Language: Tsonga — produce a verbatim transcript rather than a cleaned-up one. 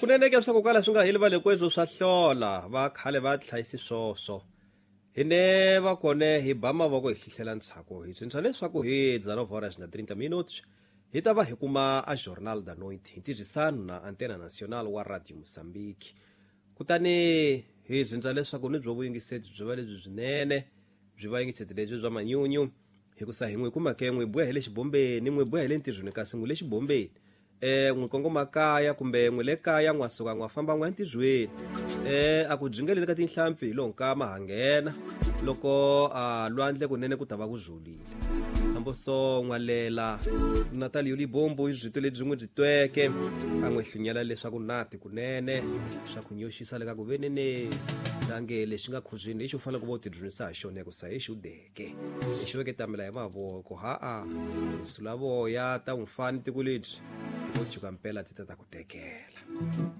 Kunene ke swa ku kala swi nga heli va le kwezwo swa hlola va khale va hlayisi swoswo. Hine va kone hi ba mavoko hi hlohlela ntshaku hi tsundzuxa leswaku hi dezenove horas na trinta minutos hi ta va hi kuma a Jornal da Noite hi ntirhisano na Antena Nacional wa Radio Mozambique. Kutani hi tsundzuxa leswaku ni byo vuyingiseti byi va lebyi byinene byi va yingiseti lebyi bya manyunyu hikusa hi n'wi kuma ke n'wi boha hi le xibombeni n'wi boha hi le ntirhweni kasi n'wi le xibombeni eh n'wi kongoma kaya kumbe n'wi le kaya n'wa suka n'wa famba n'wa ntirhweni eh a ku byingeleni ka tinhlampfi hi lo nkama ha nghena loko a lwandle kunene ku ta va ku zholile hambo so n'walela Natalio Libombo hi byito lebyi n'wi byi tweke a n'wi hlunyela leswaku nati kunene swa ku nyoxisa le ka ku venene lange lexi nga khuzwini lexi u fanele ku va u tidyondzisa ha xona ku sa hi xi u deke lexi veke tamela hi mavoko ha-a sulavoya ta n'wi fani tiko lebyi tiko juka mpela ti ta ta ku tekela.